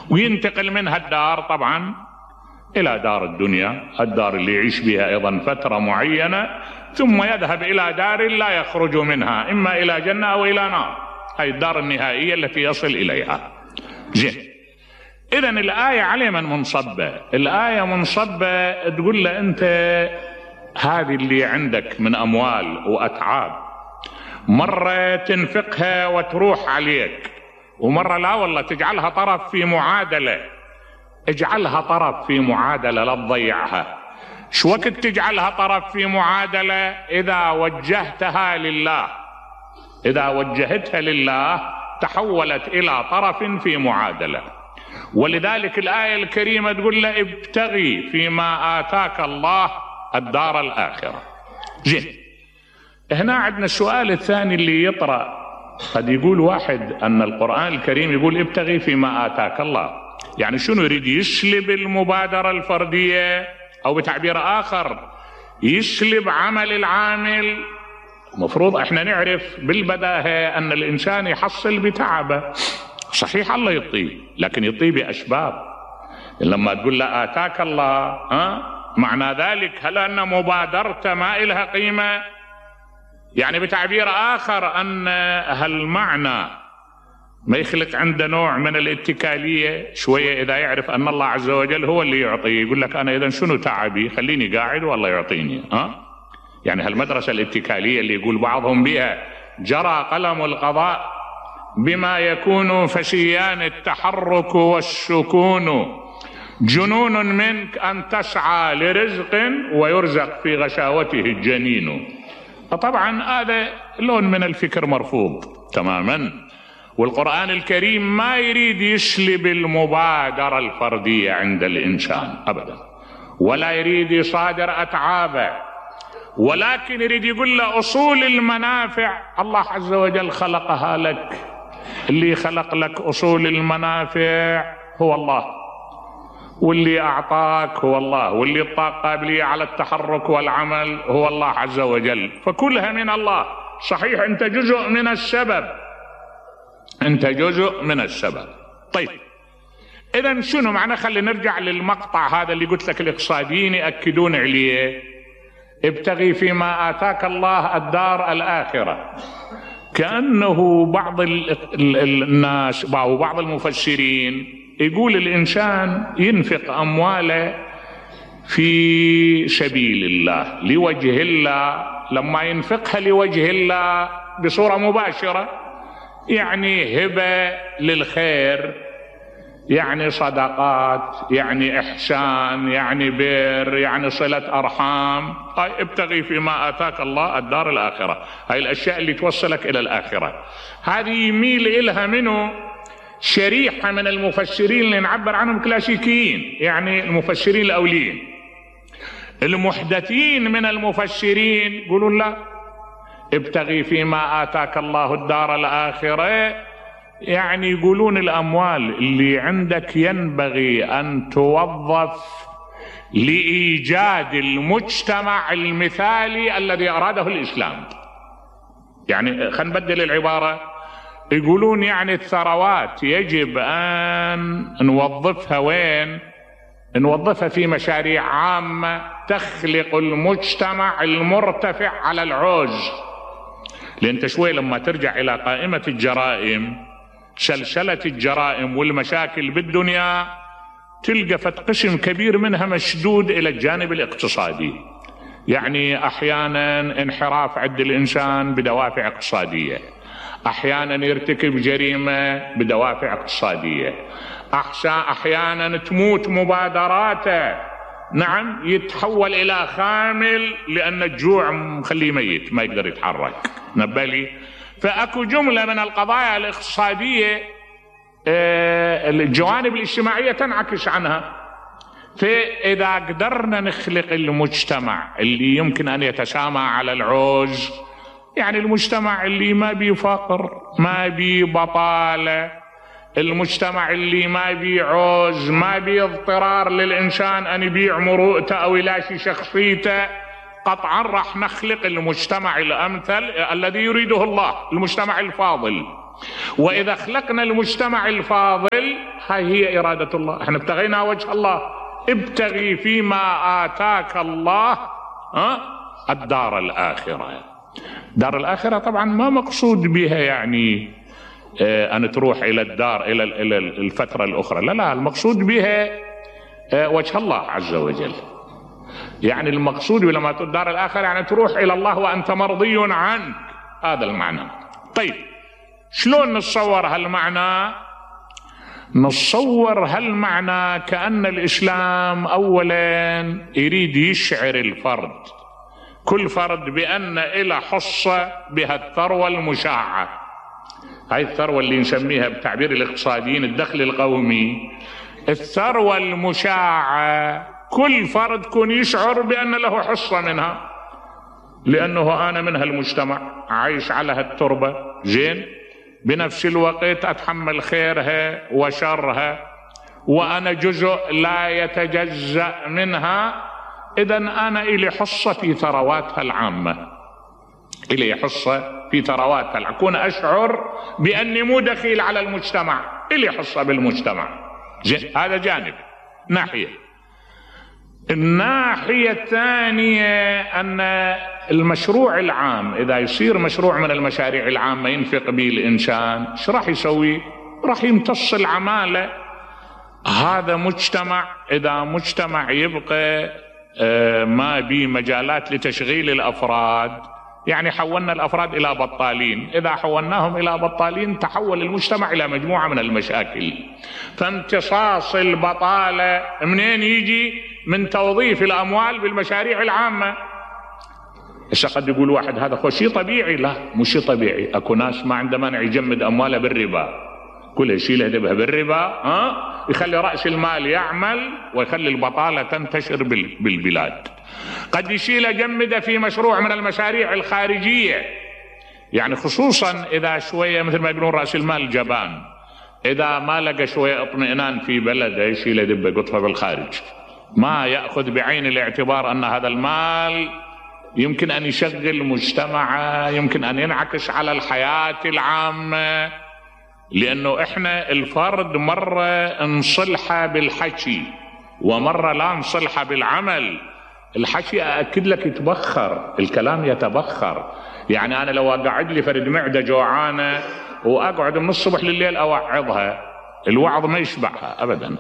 وينتقل منها الدار طبعا إلى دار الدنيا، الدار اللي يعيش بها أيضا فترة معينة، ثم يذهب إلى دار لا يخرج منها، إما إلى جنة أو إلى نار، هذه الدار النهائية التي يصل إليها. زين، إذن الآية على من منصبة؟ الآية منصبة تقول له أنت هذه اللي عندك من أموال وأتعاب مرة تنفقها وتروح عليك، ومرة لا والله تجعلها طرف في معادلة. اجعلها طرف في معادلة، لا تضيعها. شو وقت تجعلها طرف في معادلة؟ إذا وجهتها لله، إذا وجهتها لله تحولت إلى طرف في معادلة. ولذلك الآية الكريمة تقول له ابتغي فيما آتاك الله الدار الآخرة. زين، هنا عندنا السؤال الثاني اللي يطرأ. قد يقول واحد أن القرآن الكريم يقول ابتغي فيما آتاك الله، يعني شنو يريد؟ يسلب المبادرة الفردية، أو بتعبير آخر يسلب عمل العامل؟ مفروض احنا نعرف بالبداهة أن الإنسان يحصل بتعبه. صحيح الله يعطيه، لكن يعطيه بأسباب. لما تقول له آتاك الله، معنى ذلك هل أن مبادرته ما إلها قيمة؟ يعني بتعبير آخر أن هالمعنى ما يخلق عنده نوع من الاتكالية شوية، إذا يعرف أن الله عز وجل هو اللي يعطيه، يقول لك أنا إذا شنو تعبي؟ خليني قاعد والله يعطيني. يعني هالمدرسة الاتكالية اللي يقول بعضهم بها جرى قلم القضاء بما يكون فشيان التحرك والسكون، جنون منك أن تسعى لرزق ويرزق في غشاوته الجنين. طبعا هذا لون من الفكر مرفوض تماما. والقرآن الكريم ما يريد يسلب المبادرة الفردية عند الإنسان أبدا، ولا يريد يصادر أتعابه، ولكن يريد يقول له أصول المنافع الله عز وجل خلقها لك. اللي خلق لك أصول المنافع هو الله، واللي أعطاك هو الله، واللي اعطاك قابلية على التحرك والعمل هو الله عز وجل، فكلها من الله. صحيح أنت جزء من السبب، أنت جزء من السبب. طيب إذن شنو معنى؟ خلي نرجع للمقطع هذا اللي قلت لك الاقتصاديين يأكدون عليه، ابتغي فيما آتاك الله الدار الآخرة. كأنه بعض الناس أو بعض المفسرين يقول الإنسان ينفق أمواله في سبيل الله لوجه الله، لما ينفقها لوجه الله بصورة مباشرة، يعني هبة للخير، يعني صدقات، يعني إحسان، يعني بر، يعني صلة أرحام. ابتغي فيما آتاك الله الدار الآخرة، هاي الأشياء اللي توصلك إلى الآخرة. هذه يميل إلها منه شريحة من المفسرين اللي نعبر عنهم كلاسيكيين، يعني المفسرين الأوليين. المحدثين من المفسرين يقولون لا، ابتغي فيما آتاك الله الدار الآخرة، يعني يقولون الأموال اللي عندك ينبغي أن توظف لإيجاد المجتمع المثالي الذي أراده الإسلام. يعني خلينا نبدل العبارة، يقولون يعني الثروات يجب أن نوظفها وين؟ نوظفها في مشاريع عامة تخلق المجتمع المرتفع على العوز. لأن شوي لما ترجع إلى قائمة الجرائم، سلسلة الجرائم والمشاكل بالدنيا، تلقى قسم كبير منها مشدود إلى الجانب الاقتصادي. يعني أحيانا انحراف عند الإنسان بدوافع اقتصادية، أحيانا يرتكب جريمة بدوافع اقتصادية، أحيانا تموت مبادراته، نعم، يتحول إلى خامل لأن الجوع مخليه ميت ما يقدر يتحرك. نبالي فأكو جملة من القضايا الاقتصادية الجوانب الاجتماعية تنعكس عنها. فإذا قدرنا نخلق المجتمع اللي يمكن أن يتسامى على العوز، يعني المجتمع اللي ما بيه فقر، ما بيه بطالة، المجتمع اللي ما بيه عوز، ما بيه اضطرار للإنسان أن يبيع مروءته أو يلاشي شخصيته، قطعا راح نخلق المجتمع الأمثل الذي يريده الله، المجتمع الفاضل. وإذا خلقنا المجتمع الفاضل هاي هي إرادة الله، احنا ابتغينا وجه الله. ابتغي فيما آتاك الله الدار الآخرة. دار الآخرة طبعا ما مقصود بها يعني أن تروح إلى الدار إلى الفترة الأخرى، لا، المقصود بها وجه الله عز وجل. يعني المقصود لما تقول دار الآخرة يعني تروح إلى الله وأنت مرضي عنك، هذا المعنى. طيب شلون نتصور هالمعنى؟ نتصور هالمعنى كأن الإسلام أولا يريد يشعر الفرد، كل فرد، بأن إلى حصة بها الثروة المشاعة. هاي الثروة اللي نسميها بتعبير الاقتصاديين الدخل القومي، الثروة المشاعة كل فرد كون يشعر بأن له حصة منها، لأنه أنا من هالمجتمع عايش على هالتربة، زين، بنفس الوقت أتحمل خيرها وشرها، وأنا جزء لا يتجزأ منها. إذن أنا إلي حصة في ثرواتها العامة، إلي حصة في ثرواتها العامة، أكون أشعر بأني مو دخيل على المجتمع، إلي حصة بالمجتمع. هذا جانب، ناحية. الناحية الثانية أن المشروع العام إذا يصير مشروع من المشاريع العامة ينفق به الإنسان، ايش راح يسوي؟ راح يمتص العمالة. هذا مجتمع، إذا مجتمع يبقى ما بي مجالات لتشغيل الأفراد، يعني حولنا الأفراد إلى بطالين، إذا حولناهم إلى بطالين تحول المجتمع إلى مجموعة من المشاكل. فامتصاص البطالة منين يجي؟ من توظيف الأموال بالمشاريع العامة. هسه قد يقول واحد هذا خو شيء طبيعي، لا مو شيء طبيعي. اكو ناس ما عنده مانع يجمد أمواله بالربا، كلها يشيلها يذبها بالربا، يخلي رأس المال يعمل ويخلي البطالة تنتشر بالبلاد. قد يشيل يجمده في مشروع من المشاريع الخارجية، يعني خصوصا إذا شوية مثل ما يقولون رأس المال جبان، إذا ما لقى شوية اطمئنان في بلده يشيل يذبه يقطفه بالخارج، ما يأخذ بعين الاعتبار أن هذا المال يمكن أن يشغل مجتمعه، يمكن أن ينعكس على الحياة العامة. لأنه إحنا الفرد مرة نصلحه بالحكي ومرة لا نصلحه بالعمل. الحكي أأكد لك يتبخر، الكلام يتبخر. يعني أنا لو أقعد لي فرد معدة جوعانة وأقعد من الصبح لليل أوعظها، الوعظ ما يشبعها أبدا.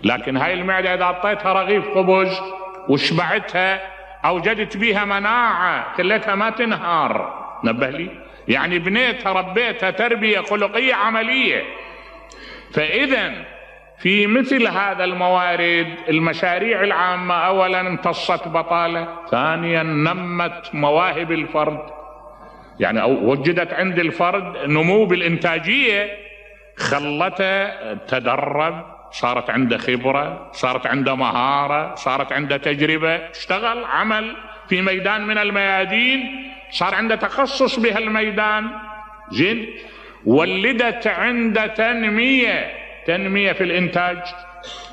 لكن هاي المعدة إذا أعطيتها رغيف خبز وشبعتها أوجدت بها مناعة، خليتها ما تنهار. نبه لي، يعني بنيتها ربيتها تربية خلقية عملية. فإذا في مثل هذا الموارد المشاريع العامة أولا امتصت بطالة، ثانيا نمت مواهب الفرد، يعني وجدت عند الفرد نمو بالإنتاجية، خلته تدرب، صارت عنده خبرة، صارت عنده مهارة، صارت عنده تجربة، اشتغل عمل في ميدان من الميادين، صار عنده تخصص بهالميدان، زين. ولدت عنده تنمية في الإنتاج.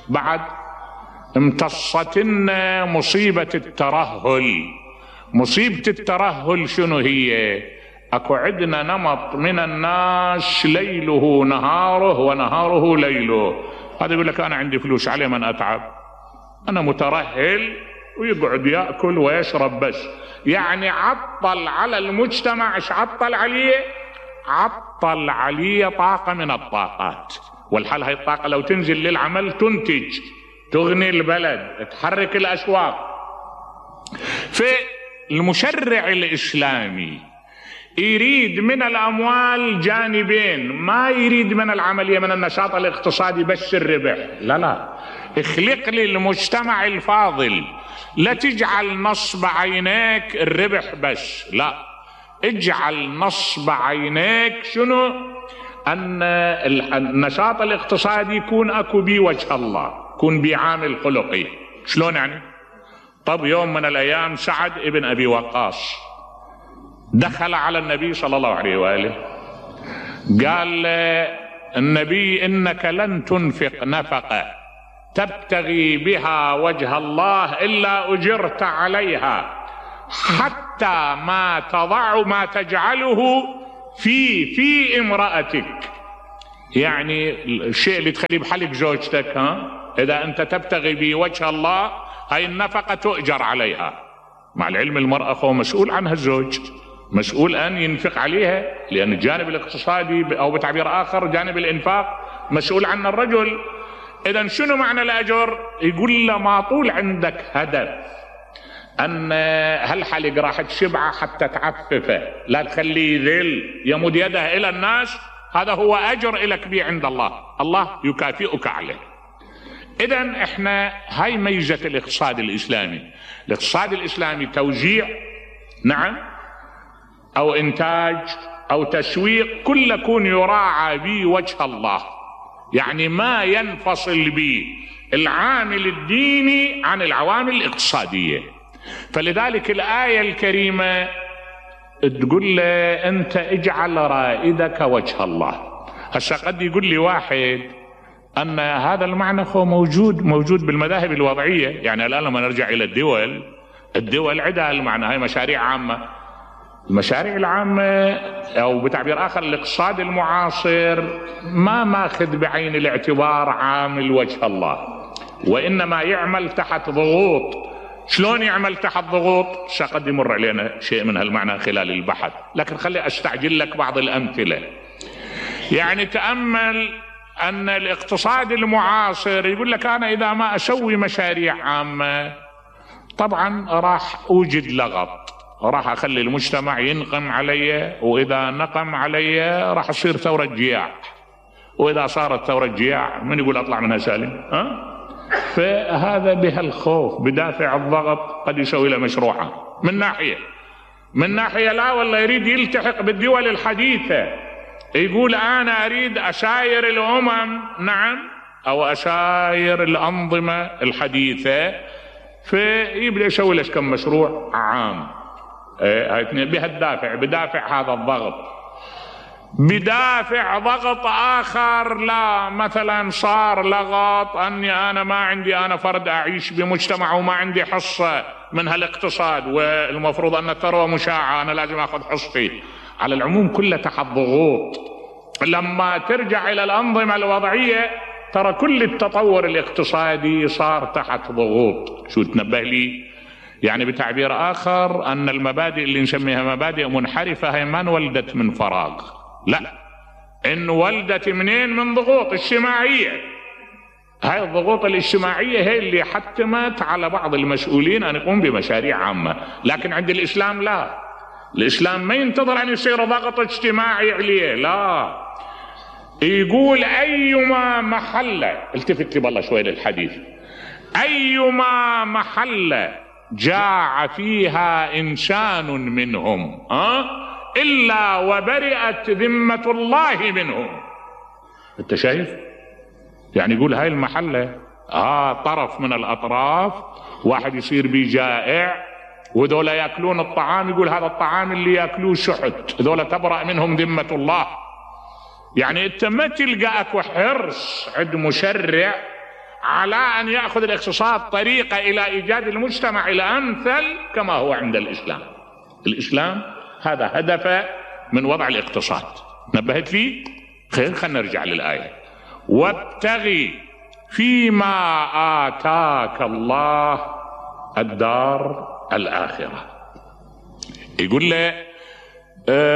بعد امتصتنا مصيبة الترهل. مصيبة الترهل شنو هي؟ اكو عندنا نمط من الناس ليله نهاره ونهاره ليله. هذا يقول لك انا عندي فلوس عليه من اتعب، انا مترهل، ويقعد ياكل ويشرب بس. يعني عطل على المجتمع. ايش عطل عليه؟ عطل عليه طاقة من الطاقات. والحال هاي الطاقة لو تنزل للعمل تنتج، تغني البلد، تحرك الاسواق. فالمشرع الاسلامي يريد من الأموال جانبين، ما يريد من العملية من النشاط الاقتصادي بس الربح، لا، اخلق لي المجتمع الفاضل. لا تجعل نصب عينيك الربح بس، لا، اجعل نصب عينيك شنو؟ أن النشاط الاقتصادي يكون أكو بي وجه الله، يكون بي عامل خلقي. شلون يعني؟ طب يوم من الأيام سعد ابن أبي وقاص دخل على النبي صلى الله عليه وآله، قال النبي إنك لن تنفق نفقة تبتغي بها وجه الله إلا أجرت عليها، حتى ما تضع ما تجعله في امرأتك. يعني الشيء اللي تخليه بحلق زوجتك، إذا أنت تبتغي بوجه الله هاي النفقة تؤجر عليها، مع العلم المرأة هو مسؤول عنها الزوج، مسؤول أن ينفق عليها، لأن الجانب الاقتصادي أو بتعبير آخر جانب الإنفاق مسؤول عنه الرجل. إذا شنو معنى الأجر؟ يقول له ما طول عندك هدف أن هالحلق راح تشبعه حتى تعففه، لا تخليه ذل يمد يده إلى الناس، هذا هو أجر لك به عند الله، الله يكافئك عليه. إذن إحنا هاي ميزة الاقتصاد الإسلامي. الاقتصاد الإسلامي توزيع، نعم، أو إنتاج أو تسويق، كل يكون يراعى به وجه الله، يعني ما ينفصل به العامل الديني عن العوامل الاقتصادية. فلذلك الآية الكريمة تقول له أنت اجعل رائدك وجه الله. هسه قد يقول لي واحد أن هذا المعنى هو موجود بالمذاهب الوضعية. يعني الآن لما نرجع إلى الدول عندها المعنى، هاي مشاريع عامة. المشاريع العامة أو بتعبير آخر الاقتصاد المعاصر ما ماخذ بعين الاعتبار عامل وجه الله، وإنما يعمل تحت ضغوط. شلون يعمل تحت ضغوط؟ قد يمر علينا شيء من هالمعنى خلال البحث، لكن خلي أستعجل لك بعض الأمثلة. يعني تأمل أن الاقتصاد المعاصر يقول لك أنا إذا ما أسوي مشاريع عامة طبعا راح أوجد لغط، راح أخلي المجتمع ينقم علي، وإذا نقم علي راح تصير ثورة جياع، وإذا صارت ثورة جياع من يقول أطلع منها سالم؟ فهذا بهالخوف بدافع الضغط قد يسوي له مشروعه من ناحية لا والله يريد يلتحق بالدول الحديثة، يقول أنا أريد أساير الأمم، نعم، أو أساير الأنظمة الحديثة، فيبدأ يسوي لك كم مشروع عام. بهالدافع، بدافع هذا الضغط. بدافع ضغط آخر، لا مثلا صار لغط أني أنا ما عندي، أنا فرد أعيش بمجتمع وما عندي حصة من هالاقتصاد، والمفروض أن الثروة مشاعة، أنا لازم أخذ حصتي. على العموم كله تحت ضغوط. لما ترجع إلى الأنظمة الوضعية ترى كل التطور الاقتصادي صار تحت ضغوط. شو تنبه لي؟ يعني بتعبير آخر أن المبادئ اللي نسميها مبادئ منحرفة هي ما انولدت من فراغ، لا، إن ولدت منين؟ من ضغوط اجتماعية. هاي الضغوط الاجتماعية هي اللي حتمت على بعض المسؤولين أن يقوم بمشاريع عامة. لكن عند الإسلام لا، الإسلام ما ينتظر أن يصير ضغط اجتماعي عليه، لا، يقول أيما محلة، التفت لي بالله شوي للحديث، أيما محلة جاع فيها إنسان منهم إلا وبرئت ذمة الله منهم. أنت شايف؟ يعني يقول هاي المحلة طرف من الأطراف واحد يصير بيه جائع، وذولا يأكلون الطعام، يقول هذا الطعام اللي يأكلوه شحت، ذولا تبرأ منهم ذمة الله. يعني أنت ما تلقى أكو حرص عند مشرع على أن يأخذ الاقتصاد طريقة إلى إيجاد المجتمع الأمثل كما هو عند الإسلام. الإسلام هذا هدفه من وضع الاقتصاد. نبهت لي؟ خلينا نرجع للآية. وابتغي فيما آتاك الله الدار الآخرة. يقول له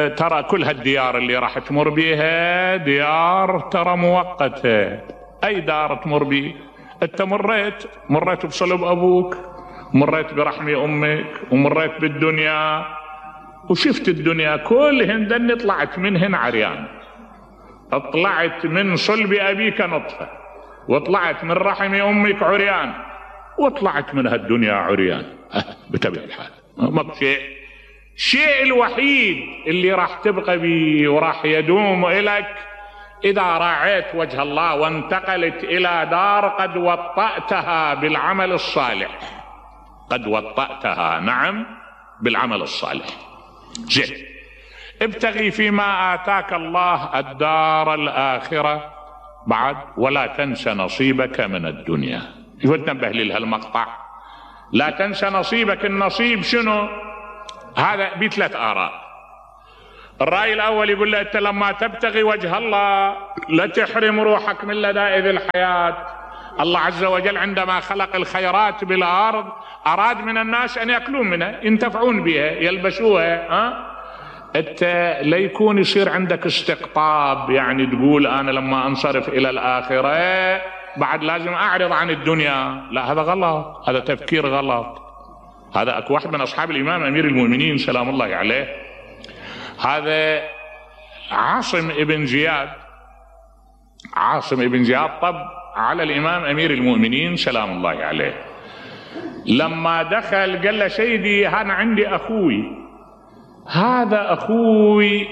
ترى كل هالديار اللي راح تمر بيها ديار ترى مؤقتة. أي دار تمر بيه؟ أنت مريت بصلب أبوك، مريت برحم أمك، ومريت بالدنيا وشفت الدنيا كلهن دني، طلعت منهن عريان، طلعت من صلب أبيك نطفة، وطلعت من رحم أمك عريان، وطلعت من هالدنيا عريان. بتبع الحال ما بشيء. الشيء الوحيد اللي راح تبقى بيه وراح يدوم إلك إذا راعيت وجه الله وانتقلت إلى دار قد وطأتها بالعمل الصالح، قد وطأتها، نعم، بالعمل الصالح. زين، ابتغي فيما آتاك الله الدار الآخرة بعد ولا تنس نصيبك من الدنيا. وتنبه لي لهالمقطع، لا تنسى نصيبك. النصيب شنو؟ هذا بثلاث آراء. الرأي الأول يقول له أنت لما تبتغي وجه الله لا تحرم روحك من لذائذ الحياة. الله عز وجل عندما خلق الخيرات بالأرض أراد من الناس أن يأكلون منها، ينتفعون بها، يلبسوها. أنت لا يكون يصير عندك استقطاب، يعني تقول أنا لما أنصرف إلى الآخرة بعد لازم أعرض عن الدنيا. لا، هذا غلط، هذا تفكير غلط. هذا أكو واحد من أصحاب الإمام أمير المؤمنين سلام الله عليه، هذا عاصم ابن زياد طب على الإمام أمير المؤمنين سلام الله عليه. لما دخل قال له سيدي أنا عندي أخوي، هذا أخوي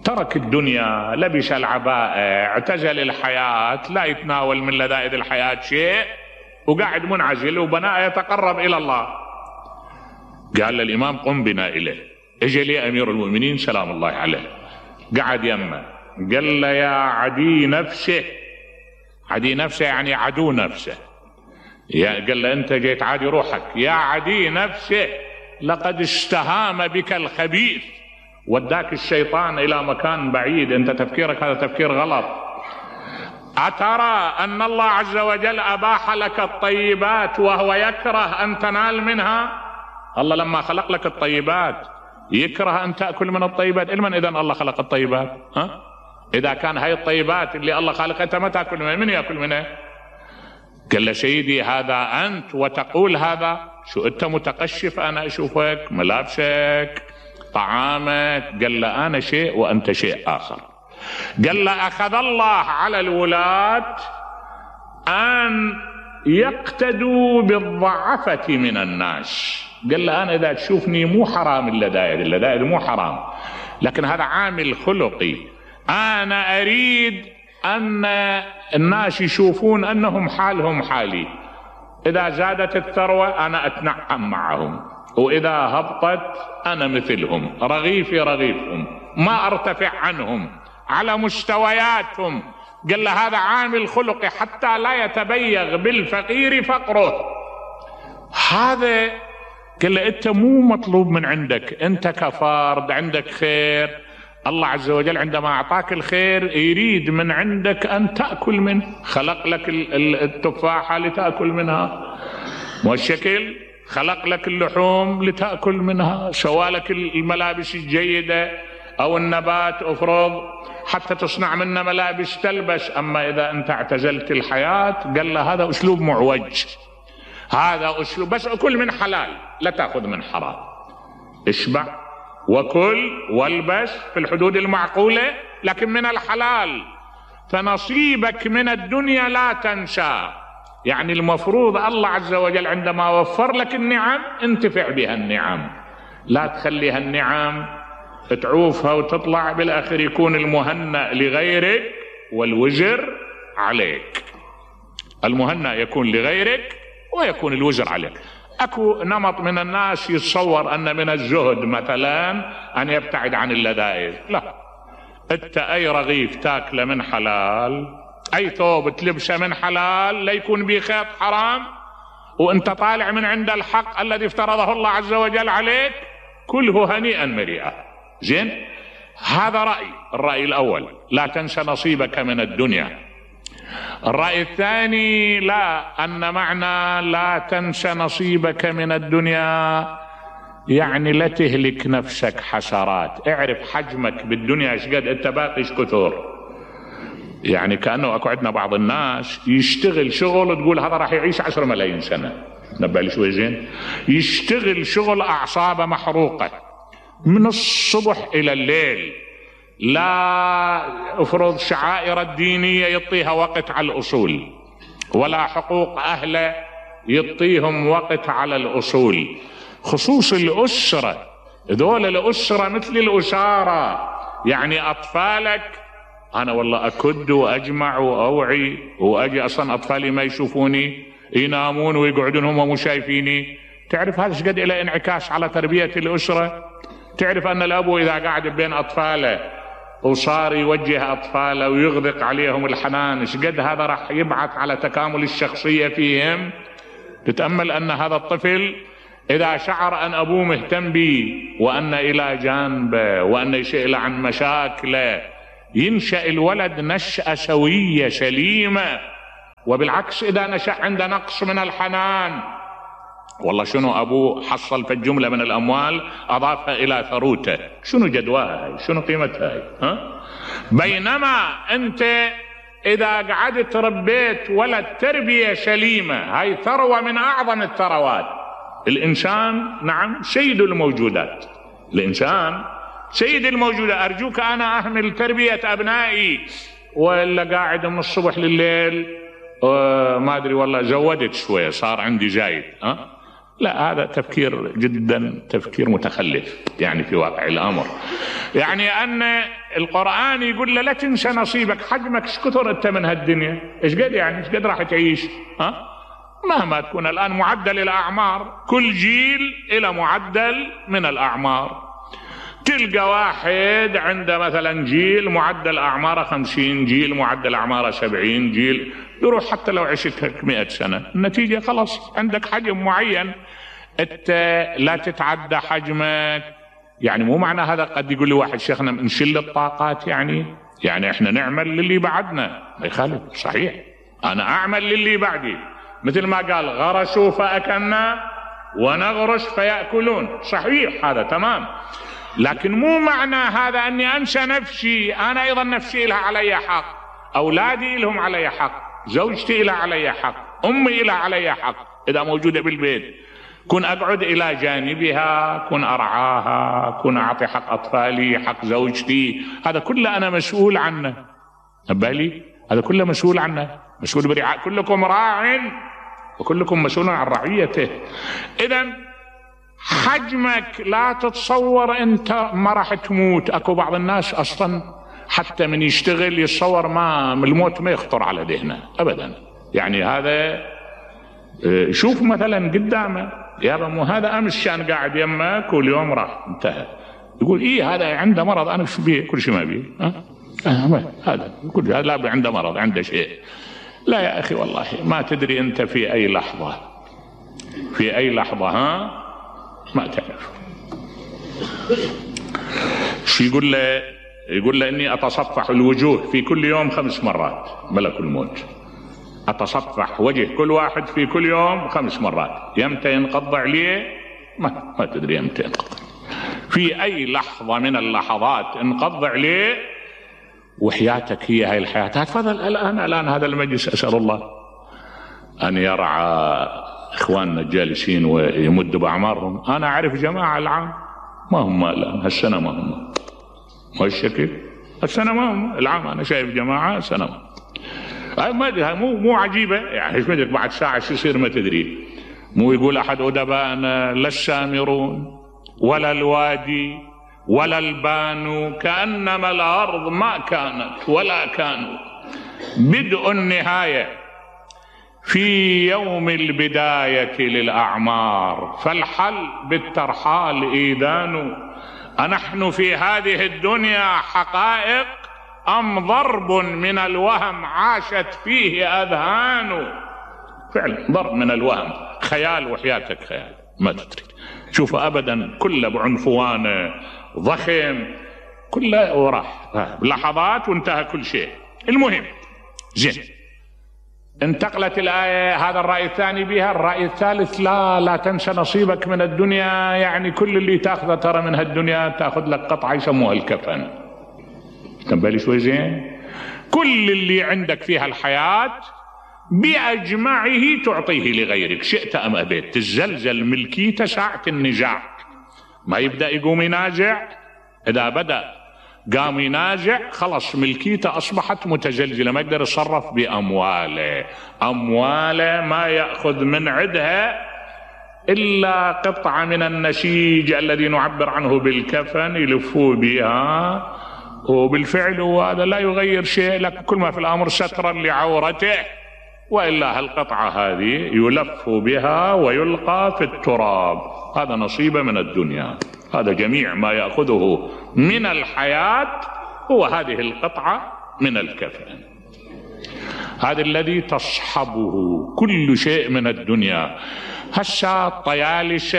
ترك الدنيا، لبس العباءة، اعتزل الحياة، لا يتناول من لذائذ الحياة شيء، وقاعد منعزل وبناء يتقرب إلى الله. قال للإمام قم بنا إليه. اجى لي أمير المؤمنين سلام الله عليه، قعد يمه، قال له يا عدي نفسه، عدي نفسه يعني عدو نفسه، قال له أنت جيت عادي روحك، يا عدي نفسه لقد استهام بك الخبيث، وداك الشيطان إلى مكان بعيد، أنت تفكيرك هذا تفكير غلط. أترى أن الله عز وجل أباح لك الطيبات وهو يكره أن تنال منها؟ الله لما خلق لك الطيبات يكره أن تأكل من الطيبات. لمن إذن الله خلق الطيبات؟ إذا كان هاي الطيبات اللي الله خالقها أنت ما تأكل منها، من يأكل منها؟ قال له سيدي هذا أنت وتقول هذا؟ شو أنت متقشف، أنا أشوفك ملابسك طعامك. قال له أنا شيء وأنت شيء آخر. قال له أخذ الله على الولاة أن يقتدوا بالضعفة من الناس. قال له أنا إذا تشوفني مو حرام اللذائذ مو حرام، لكن هذا عامل خلقي. أنا أريد أن الناس يشوفون أنهم حالهم حالي، إذا زادت الثروة أنا أتنعم معهم، وإذا هبطت أنا مثلهم، رغيفي رغيفهم، ما أرتفع عنهم على مستوياتهم. قال له هذا عامل خلقي حتى لا يتبيغ بالفقير فقره. هذا قال له أنت مو مطلوب من عندك، أنت كفرد عندك خير، الله عز وجل عندما أعطاك الخير يريد من عندك أن تأكل منه. خلق لك التفاحة لتأكل منها، والشكل خلق لك اللحوم لتأكل منها، سوالك الملابس الجيدة أو النبات أفرض حتى تصنع منه ملابس تلبس. أما إذا أنت اعتزلت الحياة قال له هذا أسلوب معوج، هذا أسلوب بس أكل من حلال لا تأخذ من حرام، اشبع وكل والبس في الحدود المعقولة لكن من الحلال، فنصيبك من الدنيا لا تنسى. يعني المفروض الله عز وجل عندما وفر لك النعم انتفع بها النعم، لا تخليها النعم تعوفها وتطلع بالآخر يكون المهنأ لغيرك والوزر عليك. المهنأ يكون لغيرك ويكون الوزر عليك. اكو نمط من الناس يتصور ان من الزهد مثلا ان يبتعد عن اللذائذ. لا، انت اي رغيف تاكله من حلال، اي ثوب تلبسه من حلال، لا يكون به خيط حرام، وانت طالع من عند الحق الذي افترضه الله عز وجل عليك، كله هنيئا مريئا. زين، هذا الرأي الأول، لا تنسى نصيبك من الدنيا. الرأي الثاني لا، أن معنى لا تنسى نصيبك من الدنيا يعني لا تهلك نفسك حسرات، اعرف حجمك بالدنيا ايش قد انت باقي ايش كثر. يعني كأنه اكو عندنا بعض الناس يشتغل شغل تقول هذا راح يعيش 10 ملايين سنة، نبه لي شوي زين، يشتغل شغل أعصابه محروقة من الصبح إلى الليل، لا افرض شعائر الدينية يعطيها وقت على الأصول، ولا حقوق أهله يعطيهم وقت على الأصول، خصوص الأسرة. ذول الأسرة مثل الأسارة، يعني أطفالك أنا والله أكد وأجمع وأوعي وأجي أصلا أطفالي ما يشوفوني، ينامون ويقعدون هم مو شايفيني. تعرف هذا شقد إلى انعكاس على تربية الأسرة. تعرف أن الأب إذا قاعد بين أطفاله وصار يوجه أطفاله ويغدق عليهم الحنان، شقد هذا راح يبعث على تكامل الشخصية فيهم. تتأمل أن هذا الطفل إذا شعر أن أبوه مهتم به وأن إلى جانبه وأن يسأل عن مشاكله، ينشأ الولد نشأة سوية سليمة. وبالعكس إذا نشأ عنده نقص من الحنان، والله شنو أبوه حصل في الجملة من الأموال أضافها إلى ثروته، شنو جدواها هاي؟ شنو قيمتها هاي؟ ها؟ بينما أنت إذا قعدت ربيت ولد تربية سليمة، هاي ثروة من أعظم الثروات. الإنسان نعم سيد الموجودات، الإنسان سيد الموجودات. أرجوك أنا أهمل تربية أبنائي ولا قاعد من الصبح لليل ما أدري والله زودت شوية صار عندي زايد. لا، هذا تفكير جدا تفكير متخلف يعني في واقع الأمر. يعني أن القرآن يقول له لا تنسى نصيبك، حجمك ايش كثر أنت من هالدنيا، ايش قد يعني ايش قد راح تعيش. مهما تكون الآن معدل الأعمار، كل جيل إلى معدل من الأعمار. تلقى واحد عنده مثلا جيل معدل أعماره 50، جيل معدل أعماره 70، جيل يروح حتى لو عشت 100 سنة، النتيجة خلاص عندك حجم معين انت لا تتعدى حجمك. يعني مو معنى هذا قد يقول لي واحد شيخنا نشل الطاقات، يعني احنا نعمل للي بعدنا، ما يخالف صحيح، انا اعمل للي بعدي، مثل ما قال غرسوا فأكلنا ونغرس فيأكلون، صحيح هذا تمام. لكن مو معنى هذا اني انسى نفسي، انا ايضا نفسي لها علي حق، اولادي لهم علي حق، زوجتي لها علي حق، امي لها علي حق اذا موجودة بالبيت، كن اقعد الى جانبها، كن ارعاها، كن اعطي حق اطفالي، حق زوجتي، هذا كله انا مسؤول عنه. بالي هذا كله مسؤول عنه، مسؤول برعاية. كلكم راع وكلكم مسؤول عن رعيته. اذا حجمك لا تتصور انت ما راح تموت. اكو بعض الناس اصلا حتى من يشتغل يتصور ما الموت ما يخطر على ذهنه ابدا. يعني هذا شوف مثلا قدامه يابا، مو هذا امس كان قاعد يمك واليوم راح انتهى، يقول ايه هذا عنده مرض، انا شو بيه كل شيء ما بيه هذا كل هذا لا عنده مرض عنده شيء. لا يا اخي والله ما تدري انت في اي لحظة ما تعرف. شو يقول له؟ يقول له اني اتصفح الوجوه في كل يوم 5 مرات، ملك الموت اتصفح وجه كل واحد في كل يوم 5 مرات. يمتى ينقض عليه؟ ما تدري يمتى ينقض، في اي لحظة من اللحظات انقض عليه. وحياتك هي هاي الحياة. تفضل الان هذا المجلس اسأل الله ان يرعى اخواننا الجالسين ويمد باعمارهم. انا اعرف جماعة العام ما هم الان هالسنة ما هم، ما الشكل السنة ما هم العام، انا شايف جماعة سنة ما ادري، مو عجيبة يعني ايش مدري بعد ساعة شو يصير ما تدري. مو يقول احد ادبائنا لا السامرون ولا الوادي ولا البان كأنما الارض ما كانت ولا كانوا، بدء النهاية في يوم البداية للأعمار، فالحل بالترحال إيذان. أنحن في هذه الدنيا حقائق أم ضرب من الوهم عاشت فيه أذهان؟ فعلا ضرب من الوهم، خيال، وحياتك خيال ما تدري. شوف أبدا كله بعنفوانه ضخم، كله وراح لحظات وانتهى كل شيء. المهم زين، انتقلت الآية هذا الرأي الثاني بها. الرأي الثالث لا تنسى نصيبك من الدنيا، يعني كل اللي تاخذه ترى من هالدنيا تاخذ لك قطعة يسموها الكفن. تنبالي شوي زين؟ كل اللي عندك فيها الحياة بأجمعه تعطيه لغيرك شئت أم أبيت. تزلزل ملكيته ساعة النزاع، ما يبدأ يقوم ينازع، إذا بدأ قام ينازع خلص ملكيته أصبحت متزلزلة، ما يقدر يتصرف بأمواله. أمواله ما يأخذ من عدها إلا قطعة من النسيج الذي نعبر عنه بالكفن يلفوا بها، وبالفعل هذا لا يغير شيء لك، كل ما في الأمر سترا لعورته، وإلا هالقطعة هذه يلف بها ويلقى في التراب. هذا نصيبه من الدنيا، هذا جميع ما يأخذه من الحياة هو هذه القطعة من الكفن. هذا الذي تصحبه كل شيء من الدنيا، هسه الطيالسة،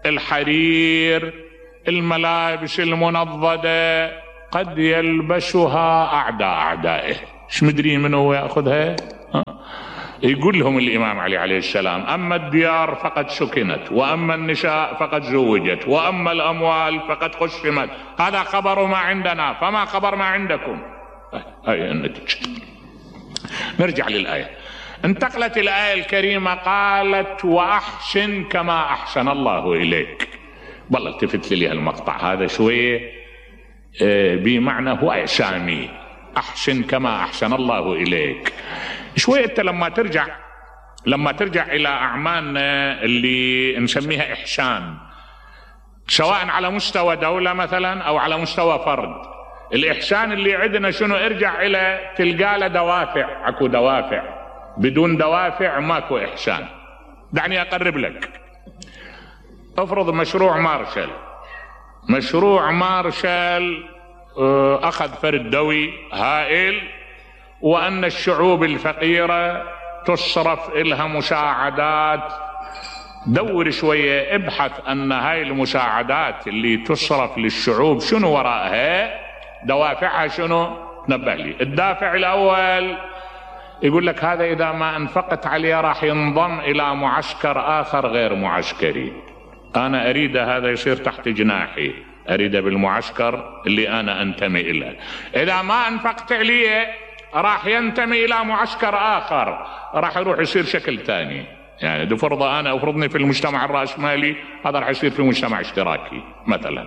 الحرير، الملابس المنضدة قد يلبسها أعدائه، ايش مدري من هو يأخذها؟ يقول لهم الإمام علي عليه السلام: أما الديار فقد سكنت، وأما النساء فقد زوجت، وأما الأموال فقد قسمت. هذا خبر ما عندنا، فما خبر ما عندكم. هاي النتيجة. نرجع للآية. انتقلت الآية الكريمة قالت: وأحسن كما أحسن الله إليك. والله التفت لي المقطع هذا شوية بمعنى هو إعسامي، أحسن كما أحسن الله إليك. شوية أنت لما ترجع إلى أعمالنا اللي نسميها إحسان، سواء على مستوى دولة مثلا أو على مستوى فرد، الإحسان اللي عندنا شنو؟ ارجع إلى تلقى له دوافع. أكو دوافع، بدون دوافع ماكو إحسان. دعني أقرب لك. افرض مشروع مارشال أخذ فرد دوي هائل، وأن الشعوب الفقيرة تصرف إلها مساعدات. دور شوية، ابحث أن هاي المساعدات اللي تصرف للشعوب شنو وراءها، دوافعها شنو. تنبه لي. الدافع الأول يقول لك هذا إذا ما أنفقت عليه راح ينضم إلى معسكر آخر غير معسكري، أنا أريد هذا يصير تحت جناحي، أريد بالمعسكر اللي أنا أنتمي إليه. إذا ما أنفقت عليه راح ينتمي إلى معسكر آخر، راح يروح يصير شكل ثاني. يعني دو فرض أنا أفرضني في المجتمع الرأسمالي، هذا راح يصير في مجتمع اشتراكي مثلا.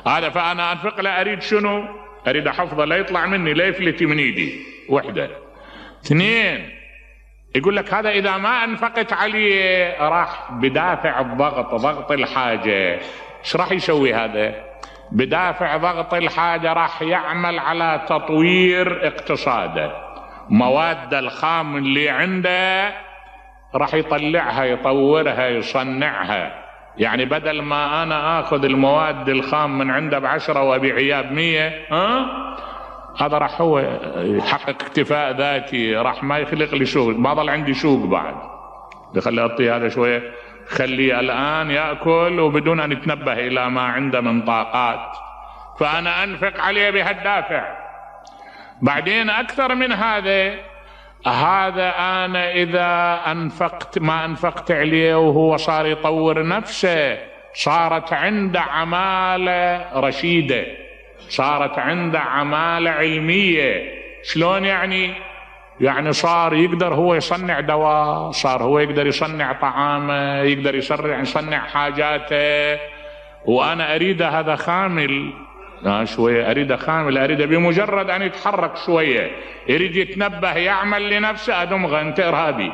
هذا فأنا أنفق له، أريد شنو؟ أريد أحفظه لا يطلع مني، لا يفلت من إيدي. وحدة. اثنين، يقول لك هذا إذا ما أنفقت عليه راح بدافع الضغط، ضغط الحاجة. ايش راح يسوي هذا؟ بدافع ضغط الحاجة راح يعمل على تطوير اقتصاده. مواد الخام اللي عنده راح يطلعها، يطورها، يصنعها. يعني بدل ما أنا آخذ المواد الخام من عنده ب10 وأبيعها ب100، هذا راح هو يحقق اكتفاء ذاتي، راح ما يخلق لي سوق، ما ضل عندي سوق بعد. بخلي أعطيه هذا شوية، خليه الآن يأكل وبدون أن يتنبه إلى ما عنده من طاقات، فأنا أنفق عليه بهالدافع. بعدين أكثر من هذا أنا إذا ما أنفقت عليه وهو صار يطور نفسه، صارت عنده عمالة رشيدة، صارت عنده عمالة علمية. شلون يعني؟ يعني صار يقدر هو يصنع دواء، صار هو يقدر يصنع طعامه، يقدر يصنع حاجاته، وأنا أريد هذا خامل. شوية أريد خامل، أريد بمجرد أن يتحرك شوية، يريد يتنبه، يعمل لنفسه، أدمغه أنت إرهابي.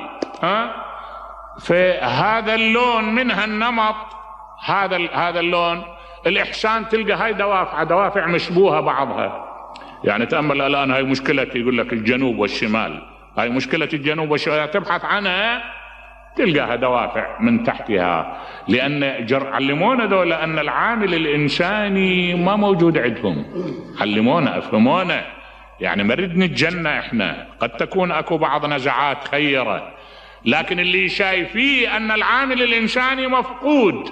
فهذا اللون من هالنمط، هذا اللون الإحسان تلقى هاي دوافع مشبوهة بعضها. يعني تأمل الآن هاي مشكلة، يقول لك الجنوب والشمال، هاي مشكلة الجنوب والشمال، تبحث عنها تلقاها دوافع من تحتها. لأن علمونا دول أن العامل الإنساني ما موجود عندهم، علمونا، أفهمونا. يعني مريد نتجنى إحنا، قد تكون أكو بعض نزعات خيرة، لكن اللي شايفيه أن العامل الإنساني مفقود،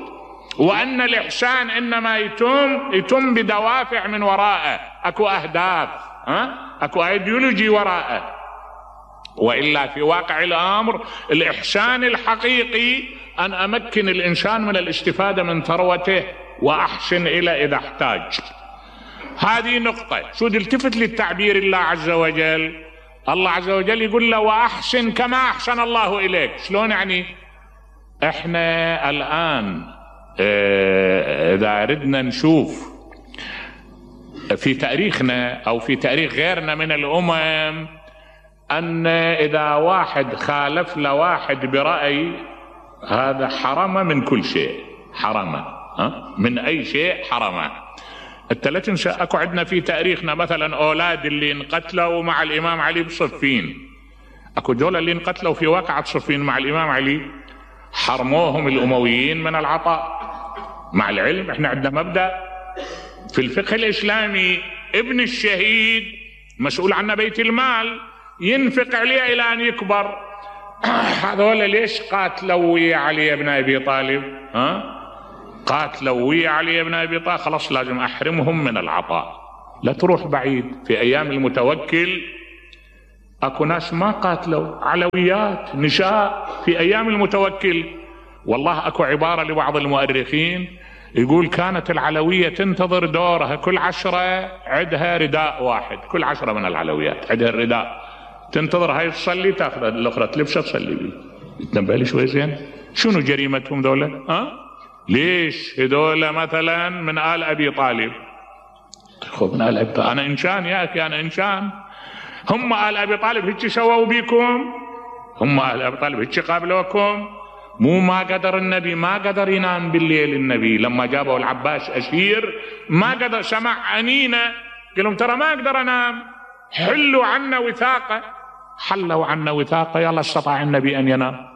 وأن الإحسان إنما يتم بدوافع من وراءه، أكو أهداف، أكو أيديولوجي وراءه. وإلا في واقع الأمر الإحسان الحقيقي أن أمكن الإنسان من الاستفادة من ثروته وأحسن إلى إذا احتاج. هذه نقطة. شو التفت للتعبير الله عز وجل؟ الله عز وجل يقول له وأحسن كما أحسن الله إليك. شلون يعني؟ إحنا الآن إذا أردنا نشوف في تاريخنا أو في تاريخ غيرنا من الأمم، أن إذا واحد خالف لواحد برأي، هذا حرمه من كل شيء، حرمه من أي شيء حرمه. انت لا تنسى اكو عندنا في تاريخنا مثلا أولاد اللي انقتلوا مع الإمام علي بصفين، اكو دول اللي انقتلوا في واقعة صفين مع الإمام علي، حرموهم الأمويين من العطاء. مع العلم احنا عندنا مبدأ في الفقه الإسلامي، ابن الشهيد مسؤول عنه بيت المال، ينفق عليه الى ان يكبر. هذول ليش قاتلوا ويا علي بن ابي طالب؟ قاتلوا ويا علي بن ابي طالب، خلاص لازم احرمهم من العطاء. لا تروح بعيد، في ايام المتوكل اكو ناس ما قاتلوا، علويات نشاء في ايام المتوكل. والله اكو عبارة لبعض المؤرخين يقول كانت العلوية تنتظر دورها، كل 10 عندها رداء واحد، كل 10 من العلويات عندها الرداء، تنتظر هاي تصلي تاخذ الاخرى تلبسها تصلي بيه. تنبه لي شوي زين، شنو جريمتهم ذولا؟ ليش هذول مثلا من آل ابي طالب؟ من آل ابي طالب، انا انسان يا اخي، انا انسان. هم آل ابي طالب هيك سووا بيكم؟ هم آل ابي طالب هيك قابلوكم؟ مو ما قدر النبي، ما قدر ينام بالليل. النبي لما جابوا العباس اسير ما قدر، سمع انينه قال لهم ترى ما اقدر انام، حلوا عنا وثاقه. حلوا عنا وثاقه، يلا استطاع النبي ان ينام.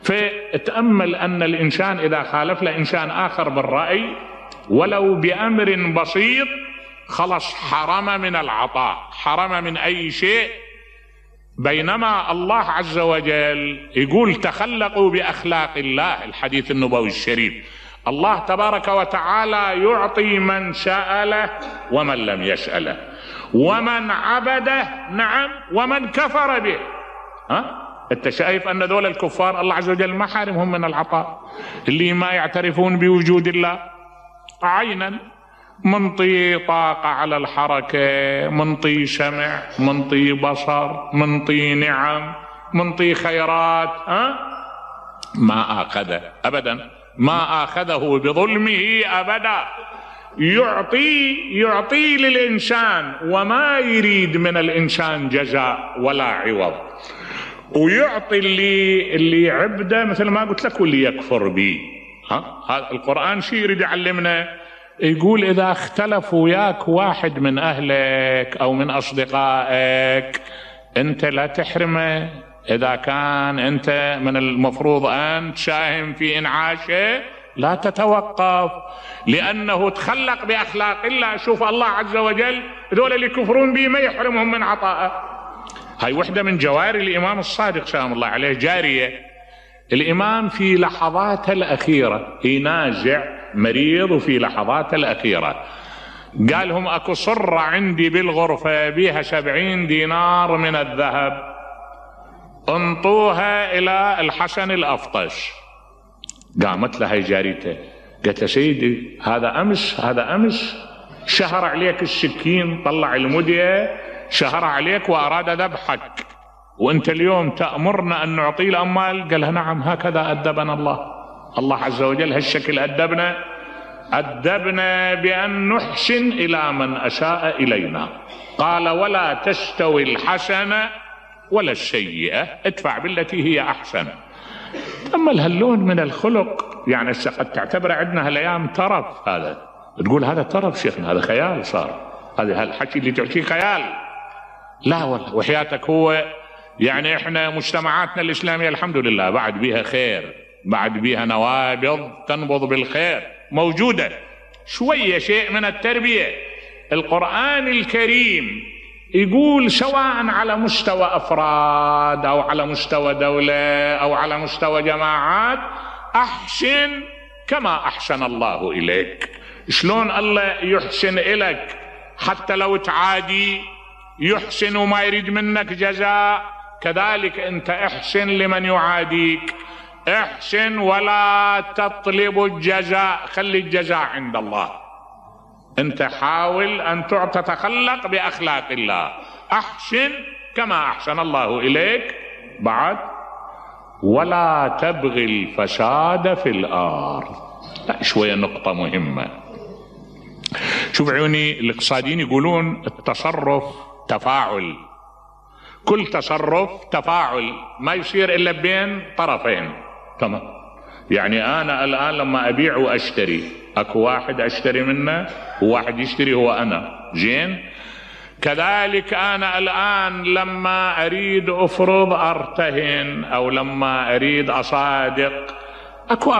فتأمل ان الانسان اذا خالف له انسان اخر بالرأي ولو بامر بسيط خلص حرم من العطاء، حرم من اي شيء. بينما الله عز وجل يقول تخلقوا بأخلاق الله، الحديث النبوي الشريف، الله تبارك وتعالى يعطي من سأله ومن لم يسأله، ومن عبده نعم ومن كفر به. انت شايف ان دول الكفار الله عز وجل ما حارمهم من العطاء، اللي ما يعترفون بوجود الله عينا، منطي طاقة على الحركة، منطي سمع، منطي بصر، منطي نعم، منطي خيرات، ما آخذه أبدا، ما آخذه بظلمه أبدا. يعطي للإنسان وما يريد من الإنسان جزاء ولا عوض، ويعطي اللي عبده مثل ما قلت لك واللي يكفر به. هذا القرآن شيء يريد يعلمنا، يقول إذا اختلف وياك واحد من أهلك أو من أصدقائك أنت لا تحرمه. إذا كان أنت من المفروض أن تساهم في إنعاشه لا تتوقف، لأنه تخلق بأخلاق الله. شوف الله عز وجل ذول اللي يكفرون به ما يحرمهم من عطائه. هاي وحدة من جواري الإمام الصادق سلام الله عليه، جارية. الإمام في لحظاته الأخيرة ينازع مريض، وفي لحظاته الأخيرة قال لهم أكو صرة عندي بالغرفة بيها 70 دينار من الذهب، انطوها إلى الحسن الأفطش. قامت لها جاريته قالت له سيدي هذا أمس شهر عليك السكين، طلع المدية شهر عليك وأراد ذبحك، وأنت اليوم تأمرنا أن نعطي الأموال. قال لها نعم هكذا أدبنا الله عز وجل، هالشكل أدبنا بأن نحسن إلى من أساء إلينا. قال ولا تستوي الحسنة ولا السيئة، ادفع بالتي هي أحسن. تأمل هاللون من الخلق، يعني قد تعتبر عندنا هالأيام ترف، هذا تقول هذا ترف شيخنا، هذا خيال صار، هذا الحكي اللي تحكيه خيال. لا والله وحياتك هو يعني احنا مجتمعاتنا الإسلامية الحمد لله بعد بيها خير، بعد بيها نوابض تنبض بالخير موجودة، شوية شيء من التربية. القرآن الكريم يقول سواء على مستوى أفراد أو على مستوى دولة أو على مستوى جماعات، أحسن كما أحسن الله إليك. شلون الله يحسن إليك حتى لو تعادي يحسن وما يريد منك جزاء، كذلك أنت احسن لمن يعاديك، احسن ولا تطلب الجزاء، خلي الجزاء عند الله. انت حاول ان تتخلق باخلاق الله، احسن كما احسن الله اليك. بعد ولا تبغي الفساد في الارض. لا شوية نقطة مهمة. شوف عيوني الاقتصاديين يقولون التصرف تفاعل، كل تصرف تفاعل، ما يصير الا بين طرفين. تمام، يعني انا الان لما ابيع واشتري اكو واحد اشتري منه وواحد يشتري هو انا، زين. كذلك انا الان لما اريد افرض ارتهن او لما اريد اصادق، اكو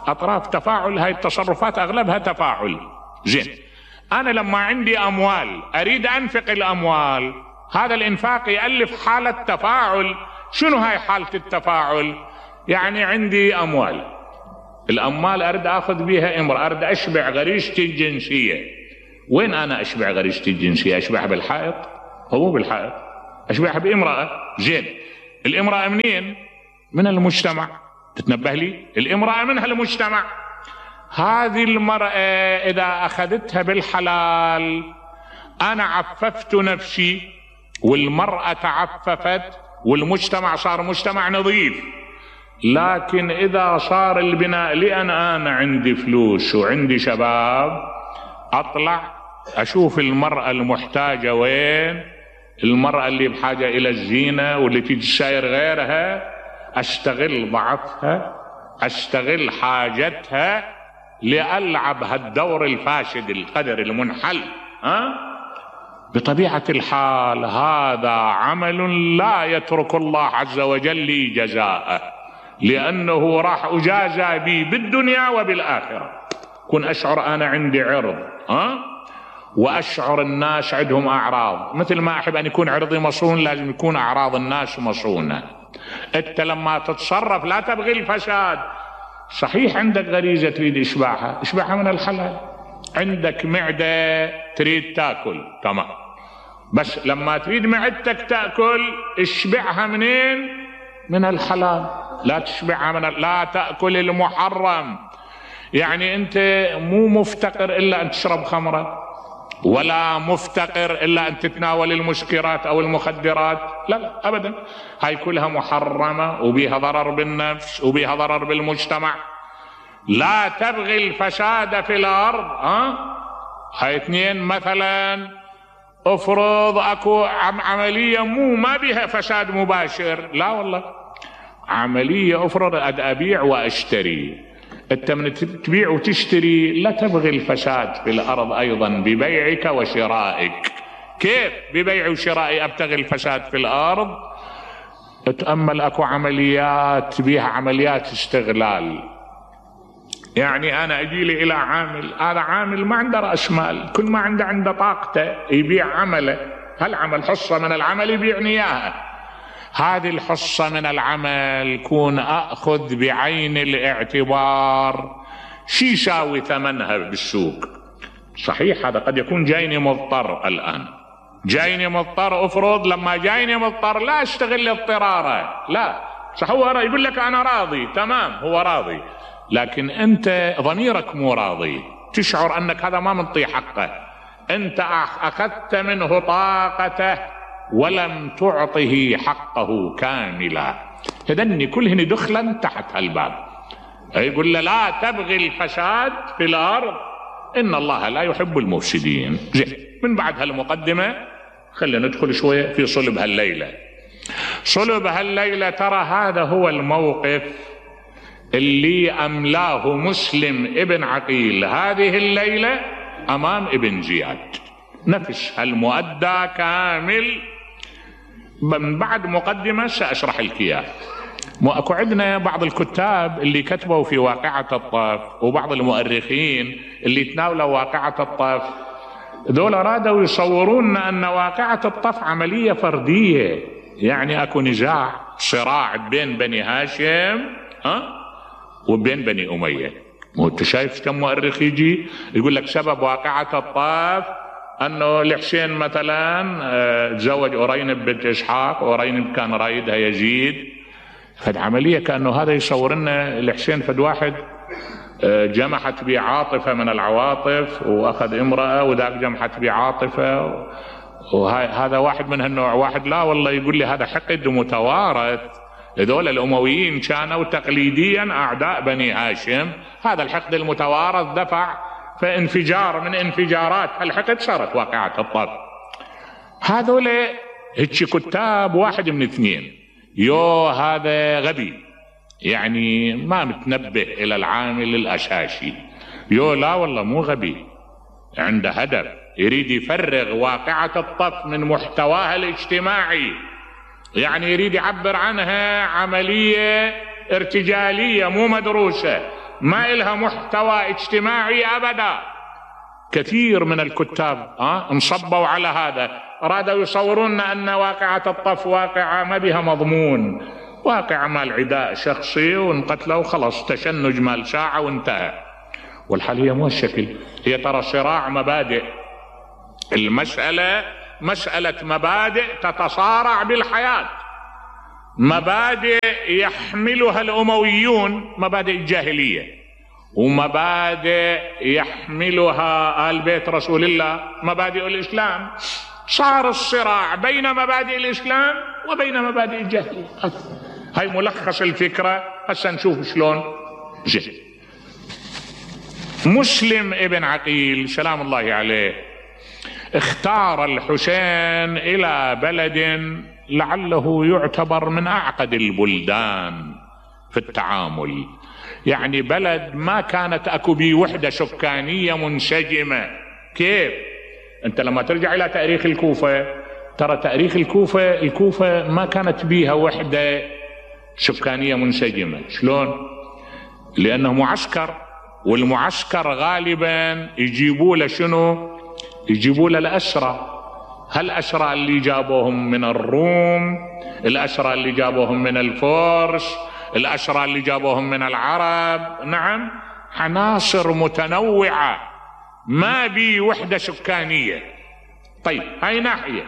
اطراف تفاعل. هاي التصرفات اغلبها تفاعل، زين. انا لما عندي اموال اريد انفق الاموال، هذا الإنفاق يألف حالة تفاعل. شنو هاي حالة التفاعل؟ يعني عندي أموال، الأموال أريد أخذ بها امرأة، أريد أشبع غريزتي الجنسية. وين أنا أشبع غريزتي الجنسية؟ أشبعها بالحائط؟ هو بالحائط، أشبعها بامرأة. زين، الامرأة منين؟ من المجتمع. تتنبه لي؟ الامرأة منها المجتمع. هذه المرأة إذا أخذتها بالحلال أنا عففت نفسي، والمرأة تعففت، والمجتمع صار مجتمع نظيف. لكن إذا صار البناء لأن أنا عندي فلوس وعندي شباب، أطلع أشوف المرأة المحتاجة وين، المرأة اللي بحاجة إلى الزينة واللي تجساير غيرها، أستغل ضعفها، أستغل حاجتها لألعب هالدور الفاسد القدر المنحل. بطبيعة الحال هذا عمل لا يترك الله عز وجل لي جزاءه، لأنه راح أجازى به بالدنيا وبالآخرة. كن أشعر أنا عندي عرض، وأشعر الناس عندهم أعراض، مثل ما أحب أن يكون عرضي مصون لازم يكون أعراض الناس مصونة. أنت لما تتصرف لا تبغي الفساد. صحيح عندك غريزة تريد إشباعها، إشباعها من الحلال. عندك معدة تريد تأكل، تمام، بس لما تريد معدتك تأكل اشبعها منين؟ من الحلال. لا تشبعها لا تأكل المحرم. يعني أنت مو مفتقر إلا أن تشرب خمرة، ولا مفتقر إلا أن تتناول المسكرات أو المخدرات، لا أبدا. هاي كلها محرمة وبيها ضرر بالنفس وبيها ضرر بالمجتمع. لا تبغي الفساد في الأرض. هاي اثنين. مثلا افرض اكو عملية ما بها فساد مباشر، لا والله، عملية افرض أبيع واشتري. انت من تبيع وتشتري لا تبغي الفساد في الأرض أيضا ببيعك وشرائك. كيف ببيع وشرائي أبتغي الفساد في الأرض؟ اتأمل، اكو عمليات بيها عمليات استغلال. يعني أنا أجي لي إلى عامل، هذا عامل ما عنده رأس مال، كل ما عنده طاقته يبيع عمله، هالعمل حصة من العمل يبيعني إياها. هذه الحصة من العمل كون أخذ بعين الاعتبار شي يساوي ثمنها بالسوق. صحيح هذا قد يكون جايني مضطر، الآن جايني مضطر، أفرض لما جايني مضطر لا أشتغل اضطراره، لا صح، هو يقول لك أنا راضي، تمام هو راضي، لكن أنت ضميرك مو راضي، تشعر أنك هذا ما منطي حقه، أنت أخذت منه طاقته ولم تعطه حقه كاملا. هذني كلهن دخلا تحت هالباب. يقول له لا تبغي الفساد في الأرض إن الله لا يحب المفسدين. زين، من بعد هالمقدمة خلينا ندخل شوية في صلب هالليلة. صلب هالليلة ترى هذا هو الموقف اللي أملاه مسلم ابن عقيل هذه الليلة أمام ابن زياد، نفس هالمؤدى كامل. من بعد مقدمة سأشرح لك إياه. اكو عندنا بعض الكتاب اللي كتبوا في واقعة الطاف وبعض المؤرخين اللي تناولوا واقعة الطاف، ذول رادوا يصورون أن واقعة الطاف عملية فردية، يعني اكو نزاع صراع بين بني هاشم وبين بني أمية. وانت شايف كم مؤرخ يجي يقول لك سبب واقعة الطاف أنه الحسين مثلا تزوج أرينب بنت إسحاق، وأرينب كان رايدها يزيد. فد عملية كأنه هذا يصور لنا الحسين فد واحد جمحت به عاطفة من العواطف وأخذ امرأة، وذاك جمحت به عاطفة، وهذا واحد من هالنوع. واحد لا والله يقول لي هذا حقد متوارث، هذول الأمويين كانوا تقليديا أعداء بني هاشم، هذا الحقد المتوارث دفع فانفجار من انفجارات الحقد صارت واقعة الطاف. هذول هيك كتاب واحد من اثنين، يو هذا غبي يعني ما متنبه إلى العامل الأساسي، يو لا والله مو غبي، عنده هدف يريد يفرغ واقعة الطاف من محتواها الاجتماعي، يعني يريد يعبر عنها عملية ارتجالية مو مدروسة، ما إلها محتوى اجتماعي أبدا. كثير من الكتاب انصبوا على هذا، رادوا يصورون أن واقعة الطف واقعة ما بها مضمون، واقعة مال عداء شخصي وانقتلوا وخلص، تشنج مال ساعة وانتهى. والحال هي مو الشكل، هي ترى صراع مبادئ. المسألة مسألة مبادئ تتصارع بالحياة، مبادئ يحملها الأمويون، مبادئ الجاهلية، ومبادئ يحملها آل بيت رسول الله، مبادئ الإسلام. صار الصراع بين مبادئ الإسلام وبين مبادئ الجاهلية. هاي ملخص الفكرة. هسا نشوف شلون جه. مسلم ابن عقيل سلام الله عليه اختار الحسين إلى بلد لعله يعتبر من أعقد البلدان في التعامل، يعني بلد ما كانت أكو بيه وحدة سكانية منسجمة. كيف؟ أنت لما ترجع إلى تاريخ الكوفة ترى تاريخ الكوفة ما كانت بيها وحدة سكانية منسجمة. شلون؟ لأنه معسكر، والمعسكر غالبا يجيبوا له شنو؟ يجيبوا له الأسرى. هالأسرى اللي جابوهم من الروم، الأسرى اللي جابوهم من الفرس، الأسرى اللي جابوهم من العرب. نعم، عناصر متنوعة، ما بي وحدة سكانية. طيب، هاي ناحية.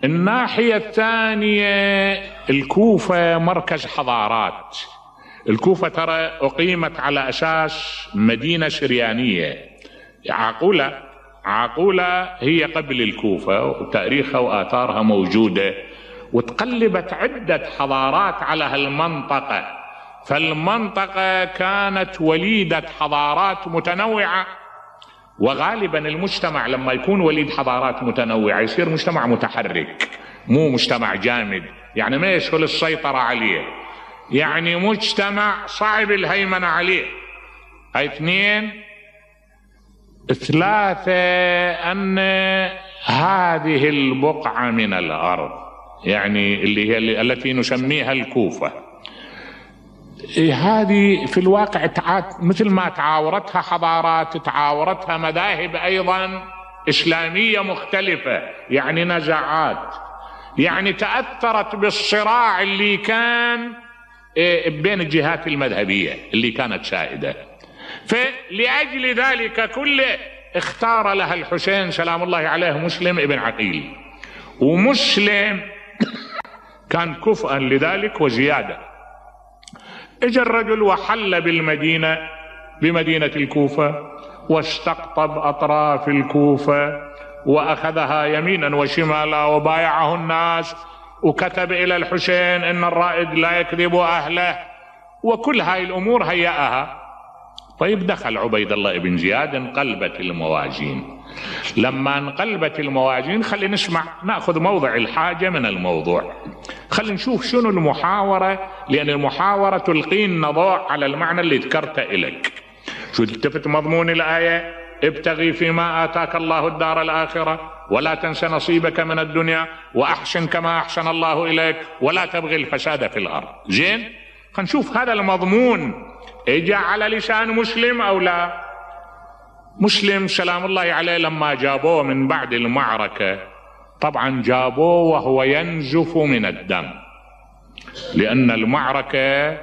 الناحية الثانية الكوفة مركز حضارات. الكوفة ترى أقيمت على أساس مدينة سريانية. عاقولة هي قبل الكوفة، وتاريخها وآثارها موجودة، وتقلبت عدة حضارات على هالمنطقة. فالمنطقة كانت وليدة حضارات متنوعة، وغالبا المجتمع لما يكون وليد حضارات متنوعة يصير مجتمع متحرك، مو مجتمع جامد، يعني ما يسهل السيطرة عليه، يعني مجتمع صعب الهيمنة عليه. هاي اثنين. ثلاثة، أن هذه البقعة من الأرض، يعني اللي هي التي نسميها الكوفة، هذه في الواقع مثل ما تعاورتها حضارات تعاورتها مذاهب أيضا إسلامية مختلفة، يعني نزاعات، يعني تأثرت بالصراع اللي كان بين الجهات المذهبية اللي كانت سائدة. فلأجل ذلك كله اختار لها الحسين سلام الله عليه مسلم ابن عقيل. ومسلم كان كفءا لذلك وزيادة. اجى الرجل وحل بمدينة الكوفة، واستقطب أطراف الكوفة وأخذها يمينا وشمالا وبايعه الناس، وكتب إلى الحسين إن الرائد لا يكذب أهله، وكل هاي الأمور هيأها. طيب، دخل عبيد الله بن زياد، انقلبت الموازين. لما انقلبت الموازين، خلي نسمع، نأخذ موضع الحاجة من الموضوع. خلي نشوف شنو المحاورة، لأن المحاورة تلقينا ضوء على المعنى اللي ذكرته إليك. شو التفت مضمون الآية؟ ابتغي فيما آتاك الله الدار الآخرة ولا تنس نصيبك من الدنيا وأحسن كما أحسن الله إليك ولا تبغي الفساد في الأرض. زين، خلينا نشوف هذا المضمون اجى على لسان مسلم أو لا. مسلم سلام الله عليه لما جابوه من بعد المعركة، طبعا جابوه وهو ينزف من الدم، لأن المعركة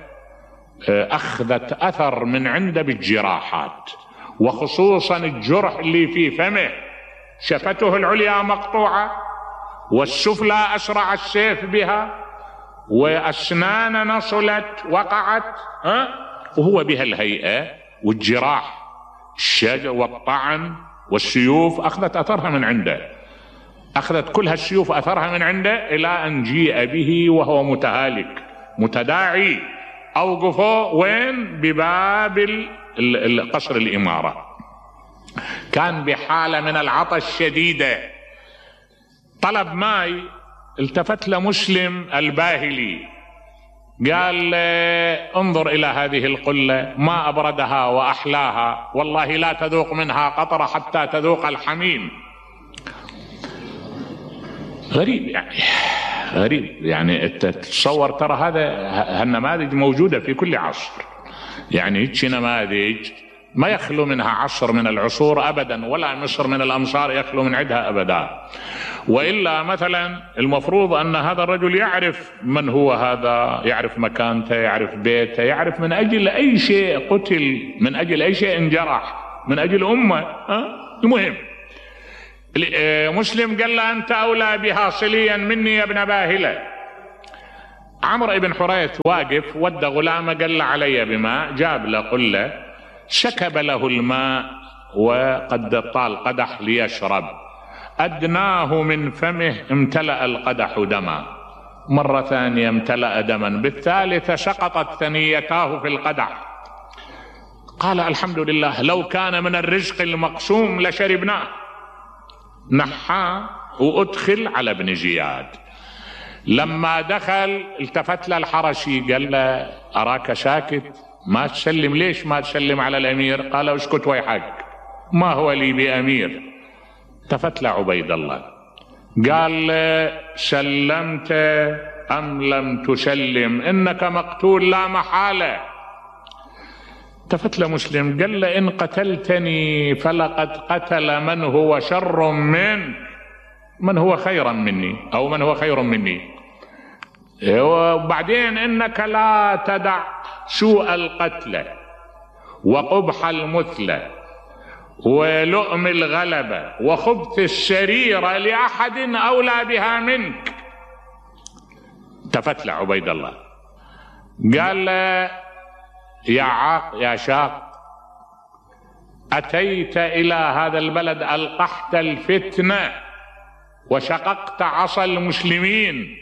أخذت أثر من عنده بالجراحات، وخصوصا الجرح اللي في فمه، شفته العليا مقطوعة والسفلى أسرع السيف بها، وأسنان نصلت وقعت، وهو بها الهيئة، والجراح الشجر والطعن والسيوف أخذت أثرها من عنده، أخذت كل هالسيوف أثرها من عنده، إلى أن جيء به وهو متهالك متداعي. أوقفوا وين؟ بباب قصر الإمارة. كان بحالة من العطش شديدة، طلب ماء، التفت لمسلم الباهلي قال انظر إلى هذه القلة، ما أبردها وأحلاها، والله لا تذوق منها قطرة حتى تذوق الحميم. غريب يعني تتصور، ترى هالنماذج موجودة في كل عصر، يعني هيك نماذج ما يخلو منها عصر من العصور أبدا، ولا مصر من الأمصار يخلو من عدها أبدا. وإلا مثلا المفروض أن هذا الرجل يعرف من هو هذا، يعرف مكانته، يعرف بيته، يعرف من أجل أي شيء قتل، من أجل أي شيء انجرح، من أجل أمة. المهم مسلم قال له أنت أولى بها صليا مني يا ابن باهلة. عمرو بن حريث واقف، ودى غلامه قال له علي بماء، جاب له قله، سكب له الماء وقد طال قدح ليشرب، أدناه من فمه امتلأ القدح دما، مرة ثانية امتلأ دما، بالثالثة سقطت ثنيتاه في القدح. قال الحمد لله، لو كان من الرزق المقسوم لشربناه. نحاه وأدخل على ابن زياد. لما دخل التفت له الحرشي قال له أراك ساكت، ما تسلم، ليش ما تسلم على الأمير؟ قال اسكت ويحك، ما هو لي بأمير. التفت له عبيد الله قال له سلمت أم لم تسلم؟ إنك مقتول لا محالة. التفت له مسلم قال له إن قتلتني فلقد قتل من هو شر منك، من هو خيرا مني، أو من هو خير مني. وبعدين إنك لا تدع سوء القتل وقبح المثلى ولؤم الغلبة وخبث السريرة لأحد أولى بها منك. التفت له عبيد الله قال له يا شاق، أتيت إلى هذا البلد ألقحت الفتنة وشققت عصا المسلمين.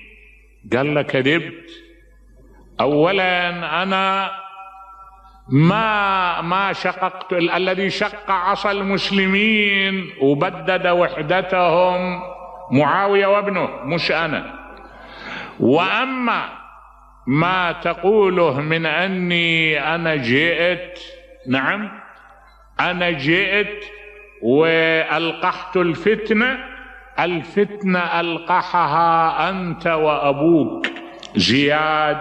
قال له كذبت، أولا أنا ما شققت، الذي شق عصا المسلمين وبدد وحدتهم معاوية وابنه مش أنا. وأما ما تقوله من أني أنا جئت، نعم أنا جئت وألقحت الفتنة، الفتنة ألقحها أنت وأبوك زياد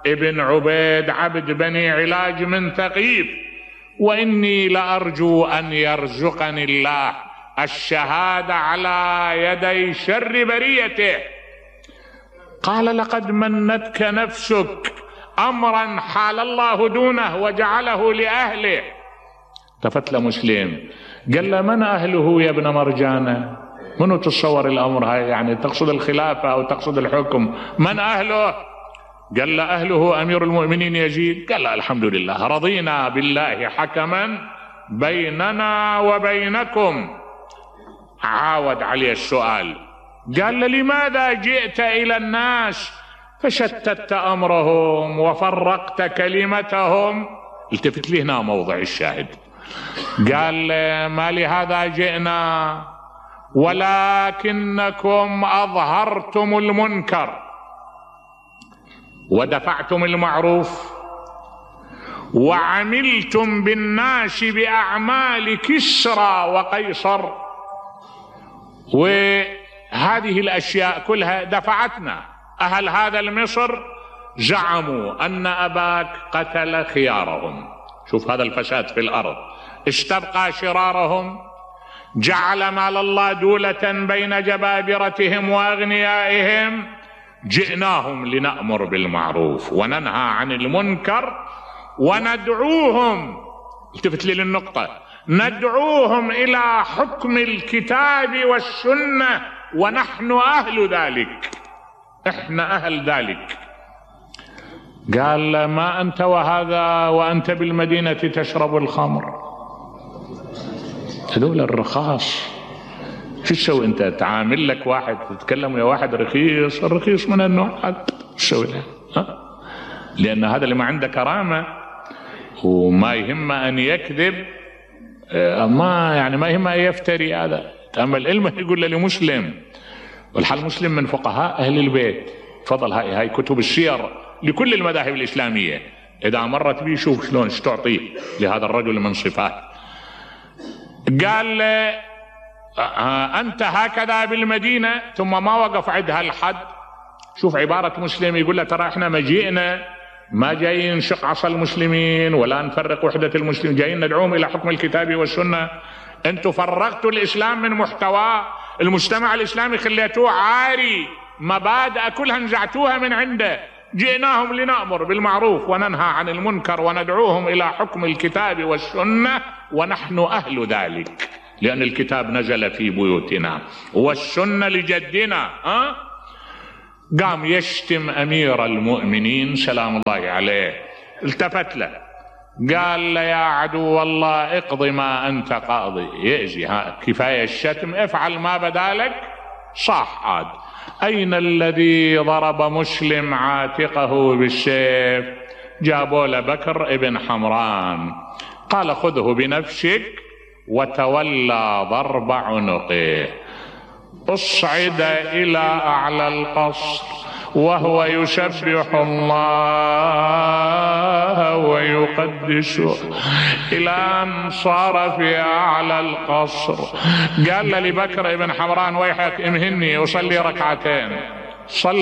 ابن عبيد عبد بني علاج من ثقيف، وإني لأرجو أن يرزقني الله الشهادة على يدي شر بريته. قال لقد منتك نفسك أمرا حال الله دونه وجعله لأهله. التفت له مسلم قال له من أهله يا ابن مرجانة؟ منو تصور الأمر هاي؟ يعني تقصد الخلافة أو تقصد الحكم؟ من أهله؟ قال له أهله أمير المؤمنين يزيد. قال له الحمد لله، رضينا بالله حكما بيننا وبينكم. عاود عليه السؤال قال له لماذا جئت إلى الناس فشتت أمرهم وفرقت كلمتهم؟ التفت لي هنا موضع الشاهد. قال ما لهذا جئنا، ولكنكم أظهرتم المنكر ودفعتم المعروف وعملتم بالناس بأعمال كسرى وقيصر، وهذه الأشياء كلها دفعتنا. أهل هذا المصر زعموا أن أباك قتل خيارهم، شوف هذا الفساد في الأرض، استبقى شرارهم، جعل مال الله دولة بين جبابرتهم وأغنيائهم. جئناهم لنأمر بالمعروف وننهى عن المنكر وندعوهم، التفت لي للنقطة، ندعوهم إلى حكم الكتاب والسنة ونحن أهل ذلك، إحنا أهل ذلك. قال ما أنت وهذا وأنت بالمدينة تشرب الخمر؟ هذول الرخاص، شو تسوي أنت؟ تعامل لك واحد تتكلم يا واحد رخيص، الرخيص من النوع هذا شو تسوي له؟ لأن هذا اللي ما عنده كرامة وما يهم أن يكذب، ما يهم أن يفتري. هذا تأمل علمه يقول له لمسلم، والحال مسلم من فقهاء أهل البيت، تفضل هاي كتب السير لكل المذاهب الإسلامية، إذا مرت بيه شوف شلون تعطيه لهذا الرجل من صفات. قال أنت هكذا بالمدينة، ثم ما وقف عندها الحد. شوف عبارة مسلم يقول له ترى احنا مجيئنا ما جايين نشق عصا المسلمين ولا نفرق وحدة المسلمين، جايين ندعوهم إلى حكم الكتاب والسنة. أنتم فرقتوا الإسلام من محتواه، المجتمع الإسلامي خليتوه عاري، مبادئ كلها نزعتوها من عنده. جئناهم لنأمر بالمعروف وننهى عن المنكر وندعوهم إلى حكم الكتاب والسنة، ونحن أهل ذلك، لأن الكتاب نزل في بيوتنا والسنة لجدنا. قام يشتم أمير المؤمنين سلام الله عليه، التفت له قال له يا عدو الله اقض ما أنت قاضي. يأذي، كفاية الشتم، افعل ما بدالك. صاح عاد. أين الذي ضرب مسلم عاتقه بالسيف؟ جابوا له بكر ابن حمران، قال خذه بنفسك، وتولى ضرب عنقه. اصعد إلى أعلى القصر وهو يسبح الله ويقدسه، إلى أن صار في أعلى القصر. قال لبكر ابن حمران ويحك امهني أصلي ركعتين. صلى